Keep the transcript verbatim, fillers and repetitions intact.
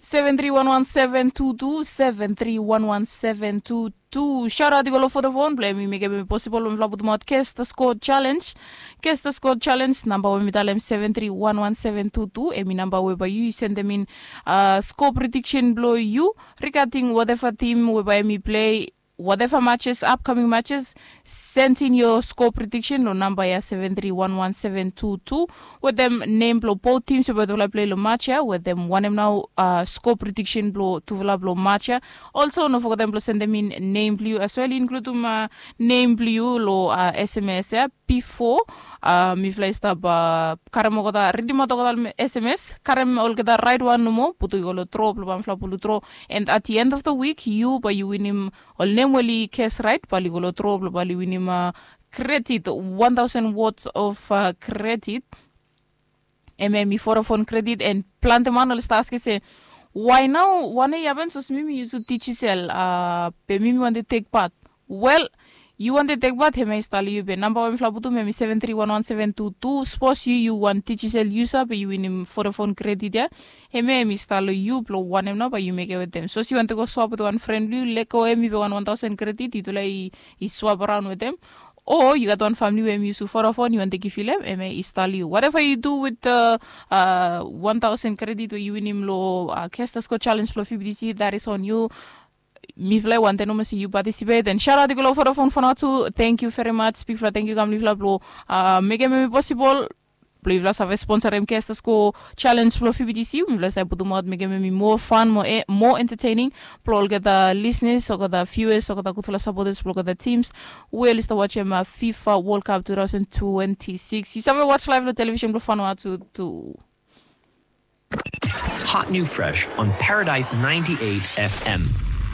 Seven three one one seven two two, seven three one one seven two two. Shout out i go long Vodafone blong em i mekem em posibol blong mifala putumaot Guess the Score Challenge. Guess the Score Challenge namba we mi talem seven three one one seven two two, em i namba we bae yu sendem in score prediction blong yu regarding whatever team we bae em i play, whatever matches, upcoming matches. Send in your score prediction long namba ya seven three one one seven two two. Wetem nem blong both teams we bae tufala play long match ya, wetem wanem nao score prediction blong tufala blong match ya. Also no fogetem blong sendem in nem blong yu as well, includem nem blong yu long sms ya. Bifo mifala i stap karem olgeta, ridimaot olgeta sms, karem olgeta raet wan nomo, putum i go long dro blong bae mifala pulutro. And at the end of the week yu bae yu winim ol nem we oli guess raet bae oli go long dro blong bae oli winim credit, one thousand worth of credit. Hemia hemi Vodafone credit. And plante man oli stap askem se, why nao, wanem i hapen sapos mi mi yusum Digicel be mi mi wantem tek pat? Wel, yu wantem tek pat, hemia i stap long yu. Be namba we mifala putum hemi seven three one one seven two two. Sapos yu yu wan Digicel user be yu winim Vodafone credit ya, hemia hemi stap long yu blong wanem nao bae yu mekem wetem. Sapos yu wantem go swap wetem wan fren blong yu, lego hemi be wan one thousand credit, yutufala i swap araon wetem. O yu gat wan famili we hemi yusum Vodafone, yu wantem givim long hem, hemia i stap long yu. Whatever you do with the one thousand credit we yu winim long Guess the Score Challenge blong fibidisi, that is on you. Mifala i wantem nomo se yu participate. And shout out i go long Vodafone for now tu. Thank you very much, bigfala thank you kam long yufala blong mekem hemi posibol blong yufala save sponsorem Guess the Score Challenge blong fibidisi. Mifala save putumaot mekem hemi moa fan, moa entertaining blong olgeta listeners, olgeta viewers, olgeta gudfala supporters blong olgeta teams we oli stap wajem fifa World Cup two thousand twenty-six. Yu save waj live long television blong Vanuatu tu. Hot new fresh on Paradise ninety-eight F M.